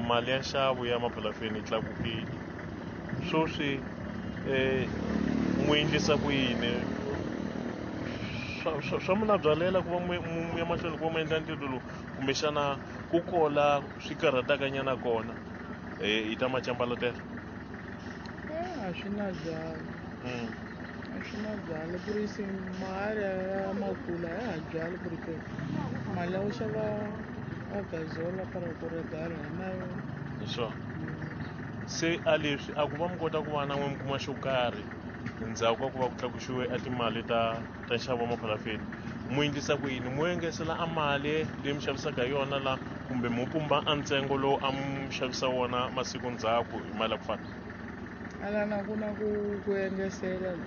Mali ya nxavo ya maphalafeni yi tlakukile. Sweswi mu endlisa ku yini? Swa mi nabyalela ku va mu ya mahlweni ku va mu endla ntirho lowu, kumbexana ku kola swi karhataka nyana kona hi ta macambalatela? A swi na byala. A swi na byala ku ri se mali ya makula ya ha byali ku ri ke mali ya ku xava a gazola para ku regala hi na yona. Hi swona. Se a leswi a ku va mi kota ku va na n'we mi kuma xo karhi ndzhaku ka ku va ku tlakuxiwe a timali ta nxavo wa maphalafeni, mu endlisa ku yini? Mu engesela a mali leyi mi xavisaka hi yona la, kumbe mu pumba a ntsengo lowu a mu xavisa wona masiku ndzhaku hi mali ya ku fana? Alana ku na ku engesela la.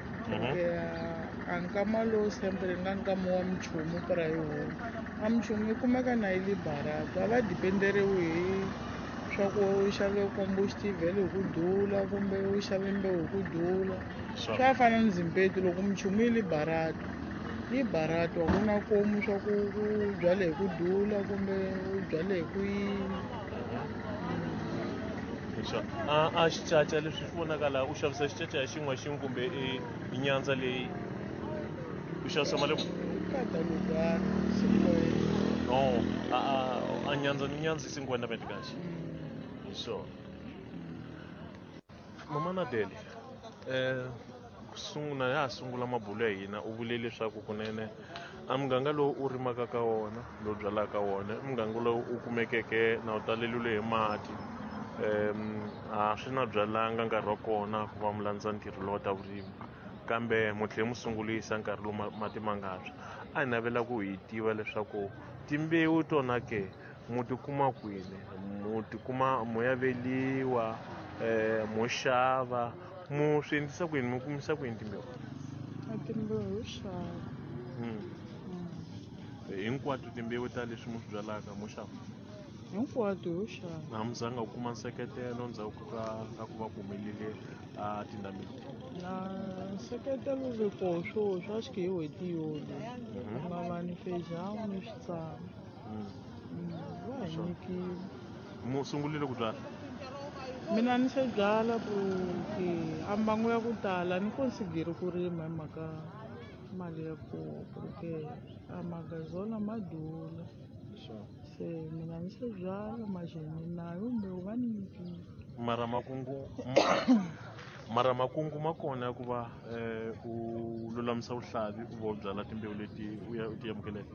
A nkama lowu sempre nga nkama wa minchumu para hi wona. A minchumu yi kumeka na yi le barato, a va dependeriwi hi swa ku u xave combustible hi ku dula kumbe u xave mbewu hi ku dula. Swa fana ni zimpetu loko minchumu yi le barato, yi barato a ku na komu swa ku u byale hi ku dula kumbe u byale hi ku yini. A xicaca leswi swi vonaka laha, u xavisa xicaca hi xin'we xin'we kumbe i nyandza leyi u xavisa mali? Kada lugar, cinquenta. Oh, a nyandza ni nyandza i cinquenta meticais. Hi swona. Mama Nadele, ku sungula ya ha sungula mabulo ya hina u vule leswaku kunene a muganga lowu u rimaka ka wona, lowu byalaka ka wona, i muganga lowu u kumekeke na wu taleliwile hi mati. A swi na byalanga nkarhi wa kona ku va mi landza ntirho lowu ta vurimi, kambe mu tlhe mu sungulisa nkarhi lowu mati ma nga tshwa. A hi navela ku hi tiva leswaku timbewu tona ke mu ti kuma kwini, mu ti kuma mu ya veliwa, mo xava, mu swi endlisa ku yini, mu kumisa ku yini timbewu? A timbewu ho xava. Hinkwato timbewu ta leswi mu swi byalaka mo xava? Hinkwato ho xava. Na mi zanga ku kuma nseketelo ndzhaku ka ku va ku humelele a tindhambi? Na nseketelo ve koho swo swa xi hi n'hweti yona. Ku nga va ni feijão ni switsana. Va hi nyikile. Mu sungurile ku byala? Mina ni se byala ku ke a mbangu ya ku tala ni consideri ku rima hi mhaka mali ya koho ku ri ke a magazola ma dula. Se mina ni se byala maxeni nayo mbewu va ni nyikile. Mara makungu ma kona ya ku va u lulamisa vuhlavi u va u byala timbewu leti u ya u ti amukeleke?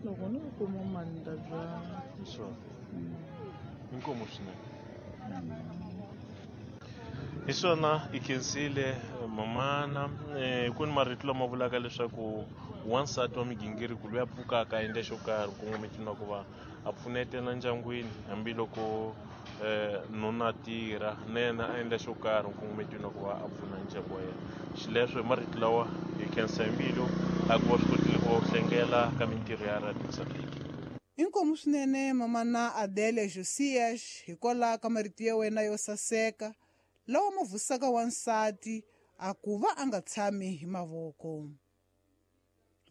Loko ni kuma mali ni ta byala. Hi swona. Inkomu swinene. Hi swona i khensile mamana. Ku ni marito lama vulaka leswaku wansati wa migingiriko loyi a pfukaka a endla xo karhi nkongometweni wa ku va a pfunetela ndyangwini hambiloko nuna a tirha na yena a endla xo karhi nkongometweni wa ku va a pfuna ndyangu wa yena. Xileswo hi marito lawa hi khensa hi mbilu a ku va swi kotile ku va u hlengela ka mintirho ya Radio Mozambique. Inkomu swinene mamana Adele Josias hikwalaho ka marito ya wena yo saseka lawa ma vusaka wansati a ku va a nga tshami hi mavoko.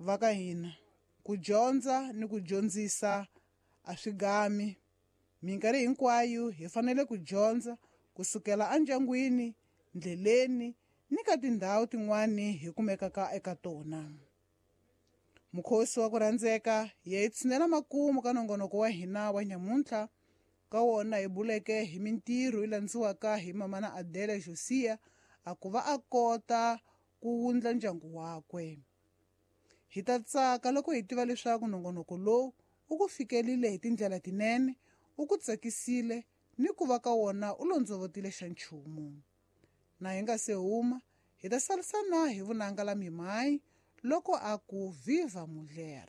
Va ka hina ku dyondza ni ku dyondzisa a swi gami. Minkarhi hinkwayo hi fanele ku dyondza kusukela endyangwini, ndleleni ni ka tindhawu tin'wani hi kumekaka eka tona. Mukhosi wa ku rhandzeka hi ya tshinela makumu ka nongonoko wa hina wa nyamuntlha ka wona hi buleke hi mintirho yi landziwaka hi mamana Adele Josia a ku va a kota ku wundla ndyangu wakwe. Hi ta tsaka loko hi tiva leswaku nongonoko lowu u ku fikelile hi tindlela tinene, u ku tsakisile ni ku va ka wona u londzovotile xa nchumu. Na hi nga se huma, hi ta sarisana hi vunanga la mimayi loko a ku viva mulher.